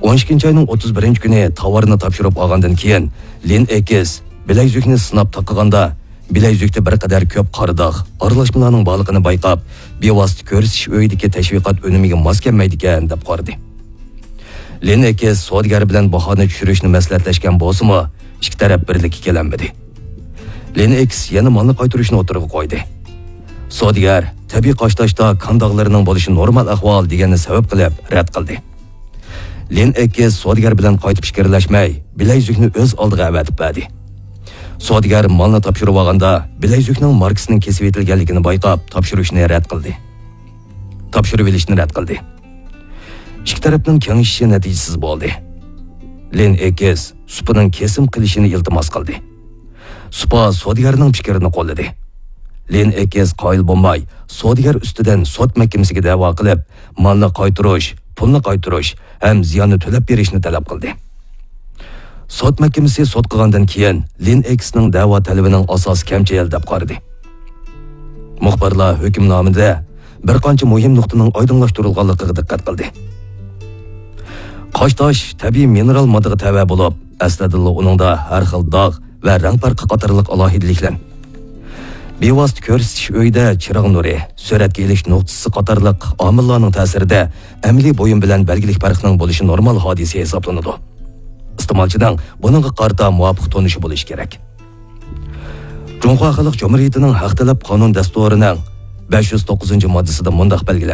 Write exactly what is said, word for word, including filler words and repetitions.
ئون ئىككىنچى ئاينىڭ ئوتتۇز بىرىنچى كۈنى تاۋارنى تاپشۇرۇپ ئالغاندىن كېيىن، لىن ئېكس بىلەيزۈكنى سىناپ تاقىغاندا، بىلەيزۈكتە بىر قەدەر كۆپ قارا داغ، ئارىلاشمىلارنىڭ بارلىقىنى بايقاپ، بىۋاسىتە كۆرسىتىش ئۆيىدىكى تەشۋىقات ئۈنۈمىگە ماس كەلمەيدىكەن، دەپ قارىدى. لىن ئېكس سودىگەر بىلەن باھانى چۈشۈرۈشنى مەسلىھەتلەشكەن بولسىمۇ، ئىككى تەرەپ بىرلىككە كېلەلمىدى. لىن ئېكس يەنە مالنى قايتۇرۇشنى ئوتتۇرىغا قويدى. سودىگەر، تەبىئىي قاشتاشتا كان داغلىرىنىڭ بولۇشى نورمال ئەھۋال، دېگەننى سەۋەب قىلىپ رەت قىلدى. لىن ئېكس سودىگەر بىلەن قايتا پىكىرلەشمەي، بىلەيزۈكنى ئۆز ئالدىغا ئەۋەتىپ بەردى. سودىگەر مالنى تاپشۇرۇۋالغاندا، بىلەيزۈكنىڭ ماركىسىنىڭ كېسىۋېتىلگەنلىكىنى بايقاپ، تاپشۇرۇشنى رەت قىلدى. تاپشۇرۇۋېلىشنى رەت قىلدى. ئىككى تەرەپنىڭ كېڭىشىشى نەتىجىسىز بولدى. لىن ئېكس سۇپىنىڭ كېسىم قىلىشىنى ئىلتىماس قىلدى. سۇپا سودىگەرنىڭ پىكرىنى قوللىدى. لىن ئېكس قايىل بولماي، سودىگەر ئۈستىدىن سوت مەھكىمىسىگە دەۋا قىلىپ، مالنى قايتۇرۇش، پۇلنى قايتۇرۇش ھەم زىياننى تۆلەپ بېرىشنى تەلەپ قىلدى. سوت مەھكىمىسى سوت قىلغاندىن كېيىن، لىن ئېكسنىڭ دەۋا تەلىپىنىڭ ئاساسى كەمچىل، دەپ قارىدى. مۇخبىرلار ھۆكۈمنامىدە بىر قانچە مۇھىم نۇقتىنىڭ ئايدىڭلاشتۇرۇلغانلىقىغا دىققەت قىلدى. قاشتاش تەبىئىي مىنېرال ماددىغا تەۋە بولۇپ، ئەسلىدىنلا ئۇنىڭدا ھەر خىل داغ ۋە رەڭ پەرقى قاتارلىق ئالاھىدىلىكلەر. بىۋاسىتە كۆرسىتىش ئۆيىدە چىراغ نۇرى، سۈرەتكە ئېلىش نۇقتىسى قاتارلىق ئامىللارنىڭ تەسىرىدە ئەمەلىي بۇيۇم بىلەن بەلگىلىك پەرقنىڭ بولۇشى نورمال ھادىسە ھېسابلىنىدۇ. ئىستېمالچىنىڭ بۇنىڭغا قارىتا مۇۋاپىق تونۇشى بولۇشى كېرەك. جۇڭخۇا خەلق جۇمھۇرىيىتىنىڭ ھەق تەلەپ قانۇن دەستۇرىنىڭ بەش يۈز توققۇزىنچى ماددىسىدا مۇنداق بەلگىلەنگەن.